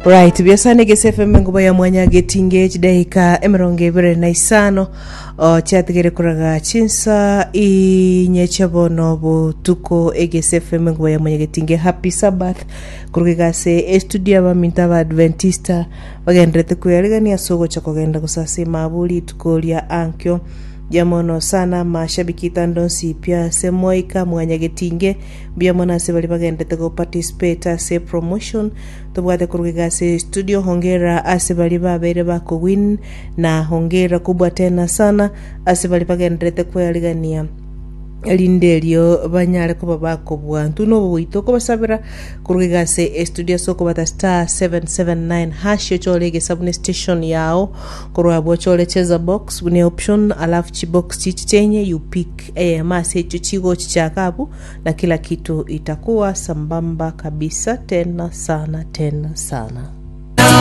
Right, biasane gese FM enguba ya mwanya getinge chidaika emerongo ebere na isano o, chiatigere koraga chinsa inye chia bono botuko egese FM enguba ya mwanya getinge happy sabbath koruga igase estudio abaminto abadventista bagenderete kwearigania ase ogocha kogenda gosasima abwo rituko ria ankio Mbuya mono sana amashabiki itando nsi pia ase moika mwanya getinge mbuya mono ase baria bagenderete go participate ase promotion Tobwate korwa iga ase studio hongera ase baria babeire bakowin na hongera kubwa tena sana ase baria bagendererete kwearigania erinde erio banyare koba bakobua. Intwe nobo goito okobasabera korwa iga ase estudio ase okobata star 779 hash ochore egesabu ne station yao korwa abwo ochore cheza box buna option alafu chibox chichi chenye you pick eyemo ase echio chigochichaka abwo na kila kitu itakuwa sambamba kabisa tena sana tena sana.